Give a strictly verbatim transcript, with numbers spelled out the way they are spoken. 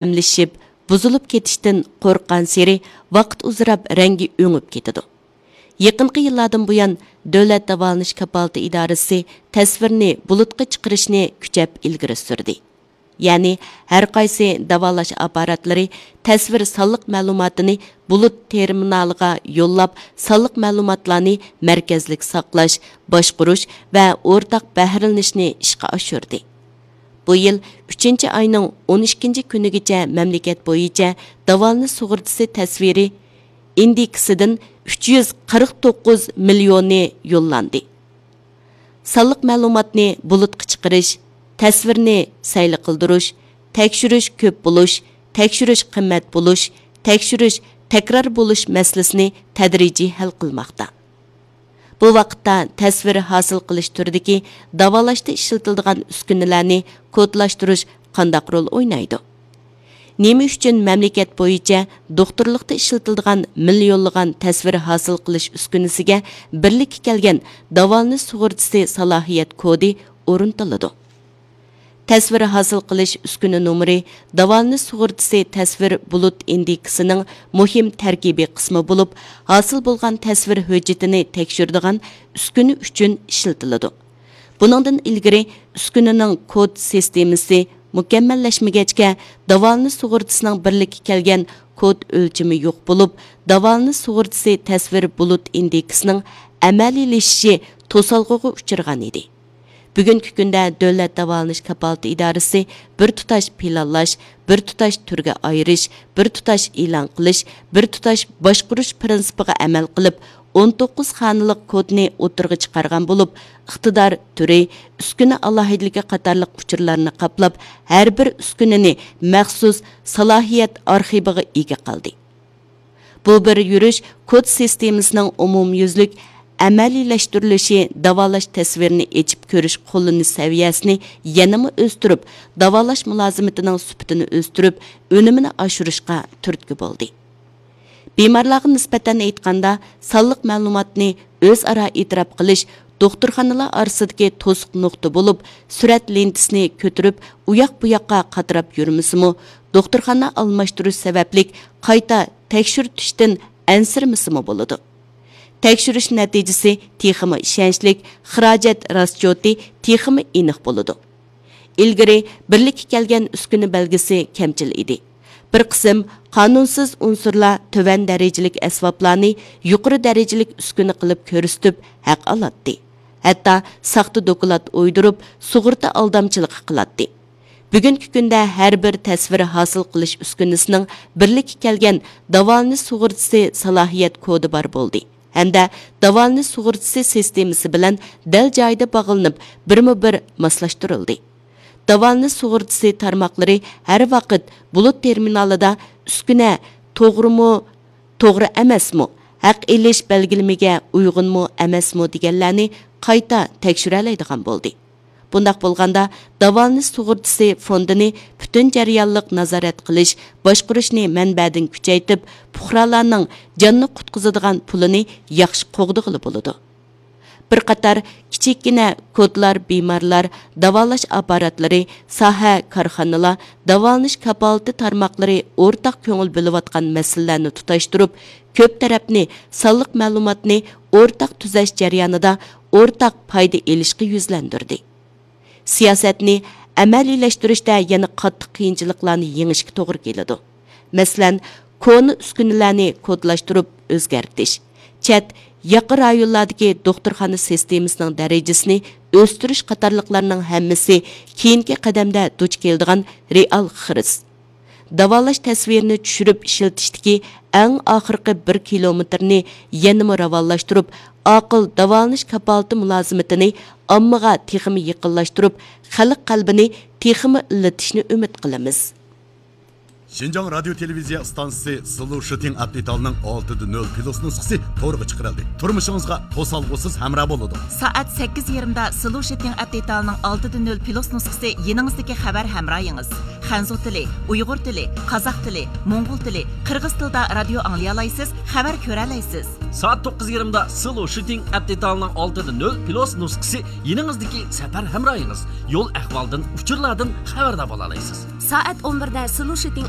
ئەملىشىپ، بۇزۇلۇپ كېتىشتىن قورققانسېرى ۋاقىت ئۇزىراپ رەڭگى ئۆڭۈپ كېتىدۇ. يېقىنقى يىللاردىن بۇيان، دۆلەت داۋالىنىش كاپالىتى ئىدارىسى تەسۋىرنى بۇلۇتقا چىقىرىشنى كۈچەپ ئىلگىرى سۈردى. يەنى، ھەرقايسى داۋالاش ئاپپاراتلىرى تەسۋىر سانلىق مەلۇماتىنى بۇلۇت تېرمىنالىغا يوللاپ، سانلىق مەلۇماتلارنى مەركەزلىك ساقلاش، باشقۇرۇش ۋە ئورتاق بەھرىلىنىشنى ئىشقا ئاشۇردى. بۇ يىل ئۈچىنچى ئاينىڭ ئون ئىككىنچى كۈنىگىچە مەملىكەت بويىچە داۋالىنىش سۇغۇرتىسى تەسۋىرى ئىندېكسىدىن ئۈچ يۈز قىرىق توققۇز مىليونى يوللاندى. سانلىق مەلۇماتنى بۇلۇتقا چىقىرىش، تەسۋىرنى سەيلە قىلدۇرۇش، تەكشۈرۈش كۆپ بولۇش، تەكشۈرۈش قىممەت بولۇش، تەكشۈرۈش تەكرار بولۇش مەسىلىسىنى تەدرىجىي ھەل قىلماقتا. بۇ ۋاقىتتا تەسۋىر ھاسىل قىلىش تۈرىدىكى داۋالاشتا ئىشلىتىلىدىغان ئۈسكۈنىلەرنى كودلاشتۇرۇش قانداق رول ئوينايدۇ؟ نېمە ئۈچۈن مەملىكەت بويىچە دوختۇرلۇقتا ئىشلىتىلىدىغان مىليونلىغان تەسۋىر ھاسىل قىلىش ئۈسكۈنىسىگە بىرلىككە كەلگەن داۋالىنىش سۇغۇرتىسى سالاھىيەت كودى ئورنىتىلىدۇ؟ تەسۋىر ھاسىل قىلىش ئۈسكۈنە نومۇرى داۋالىنىش سۇغۇرتىسى تەسۋىر بۇلۇت ئىندېكسىنىڭ مۇھىم تەركىبىي قىسمى بولۇپ، ھاسىل بولغان تەسۋىر ھۆججىتىنى تەكشۈرىدىغان ئۈسكۈنە ئۈچۈن ئىشلىتىلىدۇ. بۇنىڭدىن ئىلگىرى ئۈسكۈنىنىڭ كود سىستېمىسى مۇكەممەللەشمىگەچكە، داۋالىنىش سۇغۇرتىسىنىڭ بىرلىككە كەلگەن كود ئۆلچىمى يوق بولۇپ، داۋالىنىش سۇغۇرتىسى تەسۋىر بۇلۇت ئىندېكسىنىڭ ئەمەلىيلىشىشى توسالغۇغا ئۇچرىغان ئىدى. بۈگۈنكى كۈندە دۆلەت داۋالىنىش كاپالىتى ئىدارىسى بىر تۇتاش پىلانلاش، بىر تۇتاش تۈرگە ئايرىش، بىر تۇتاش ئېلان قىلىش، بىر تۇتاش باشقۇرۇش پىرىنسىپىغا ئەمەل قىلىپ، ئون توققۇز خانىلىق كودنى ئوتتۇرىغا چىقارغان بولۇپ، ئىقتىدار تۈرى، ئۈسكۈنە ئالاھىدىلىكى قاتارلىق ئۇچۇرلارنى قاپلاپ، ھەر بىر ئۈسكۈنىنى مەخسۇس سالاھىيەت ئارخىپىغا ئىگە قىلدى. بۇ بىر يۈرۈش كود سىستېمىسىنىڭ ئومۇميۈزلۈك ئەمەلىيلەشتۈرۈلۈشى داۋالاش تەسۋىرىنى ئېچىپ كۆرۈش قوللىنىش سەۋىيەسىنى يەنىمۇ ئۆستۈرۈپ، داۋالاش مۇلازىمىتىنىڭ سۈپىتىنى ئۆستۈرۈپ، ئۈنۈمىنى ئاشۇرۇشقا تۈرتكە بولدى. بىمارلارغا نىسبەتەن ئېيتقاندا، سانلىق مەلۇماتنى ئۆزئارا ئېتىراپ قىلىش دوختۇرخانىلار ئارىسىدىكى توسۇق نۇقتا بولۇپ، سۈرەت لېنتىسىنى كۆتۈرۈپ، ئۇياق-بۇياققا قاتراپ يۈرمىسىمۇ، دوختۇرخانا ئالماشتۇرۇش سەۋەبلىك قايتا تەكشۈرتۈشتىن ئەنسىرىمىسىمۇ بولىدۇ. تەكشۈرۈش نەتىجىسى تېخىمۇ ئىشەنچلىك، خىراجەت راسچوتى تېخىمۇ ئېنىق بولىدۇ. ئىلگىرى بىرلىككە كەلگەن ئۈسكۈنە بەلگىسى كەمچىل ئىدى. بىر قىسىم قانۇنسىز ئۇنسۇرلار تۆۋەن دەرىجىلىك ئەسۋابلارنى يۇقىرى دەرىجىلىك ئۈسكۈنە قىلىپ كۆرسىتىپ ھەق ئالاتتى. ھەتتا ساختا دوكلات ئويدۇرۇپ، سۇغۇرتا ئالدامچىلىقى قىلاتتى. بۈگۈنكى كۈندە ھەر بىر تەسۋىر ھاسىل قىلىش ئۈسكۈنىسىنىڭ بىرلىككە كەلگەن داۋالىنىش سۇغۇرتىسى سالاھىيەت كودى بار بولدى ھەمدە داۋالىنىش سۇغۇرتىسى سىستېمىسى بىلەن دەل جايىدا باغلىنىپ، بىرمۇ بىر ماسلاشتۇرۇلدى. داۋالىنىش سۇغۇرتىسى تارماقلىرى ھەر ۋاقىت بۇلۇت تېرمىنالىدا ئۈسكۈنە توغرىمۇ، توغرا ئەمەسمۇ، ھەق ئېلىش بەلگىلىمىگە ئۇيغۇنمۇ ئەمەسمۇ دېگەنلەرنى قايتا تەكشۈرەلەيدىغان بولدى. بۇنداق بولغاندا، داۋالىنىش سۇغۇرتىسى فوندىنى پۈتۈن جەريانلىق نازارەت قىلىش، باشقۇرۇشنى مەنبەدىن كۈچەيتىپ، پۇقرالارنىڭ جاننى قۇتقۇزىدىغان پۇلىنى ياخشى قوغدىغىلى بولىدۇ. بىر قاتار كىچىككىنە كودلار، بىمارلار، داۋالاش ئاپپاراتلىرى، ساھە، كارخانىلار، داۋالىنىش كاپالىتى تارماقلىرى ئورتاق كۆڭۈل بۆلۈۋاتقان مەسىلىلەرنى تۇتاشتۇرۇپ، كۆپ تەرەپنى سانلىق مەلۇماتنى ئورتاق تۈزەش جەريانىدا ئورتاق پايدا ئېلىشقا يۈزلەندۈردى. سىياسەتنى ئەمەلىيلەشتۈرۈشتە يەنە قاتتىق قىيىنچىلىقلارنى يېڭىشكە توغرا كېلىدۇ. مەسىلەن، كونا ئۈسكۈنىلەرنى كودلاشتۇرۇپ ئۆزگەرتىش، چەت، ياقا رايونلاردىكى دوختۇرخانا سىستېمىسىنىڭ دەرىجىسىنى ئۆستۈرۈش قاتارلىقلارنىڭ ھەممىسى كېيىنكى قەدەمدە دۇچ كېلىدىغان رېئال خىرىس. داۋالاش تەسۋىرىنى چۈشۈرۈپ ئىشلىتىشتىكى ئەڭ ئاخىرقى بىر كىلومېتىرنى يەنىمۇ راۋانلاشتۇرۇپ، ئاقىل داۋالىنىش كاپالىتى مۇلازىمىتىنى ئاممىغا تېخىمۇ يېقىنلاشتۇرۇپ، خەلق قەلبىنى تېخىمۇ ئىللىتىشنى ئۈمىد قىلىمىز. شىنجاڭ رادىيو تېلېۋىزىيە ئىستانسىسى سلو شىتىڭ ئەپ دېتالىنىڭ ئالتىدە نۆل پلۇس نۇسخىسى تورغا چىقىرىلدى. تۇرمۇشىڭىزغا توسالغۇسىز ھەمراھ بولىدۇ. سائەت سەككىز يېرىمدا سلو شىتىڭ ئەپ دېتالىنىڭ ئالتىدە نۆل پلۇس نۇسخىسى يېنىڭىزدىكى خەۋەر ھەمراھىڭىز. خەنزۇ تىلى، ئۇيغۇر تىلى، قازاق تىلى، موڭغۇل تىلى، قىرغىز تىلىدا رادىيو ئاڭلىيالايسىز، خەۋەر كۆرەلەيسىز. سائەت توققۇز يېرىمدا سلو شىتىڭ ئەپ دېتالىنىڭ ئالتىدە نۆل پلۇس نۇسخىسى يېنىڭىزدىكى سەپەر ھەمراھىڭىز. يول ئەھۋالدىن، ئۇچۇرلاردىن خەۋەردار بولالايسىز. سائەت ئون بىردە سلۇشىتىڭ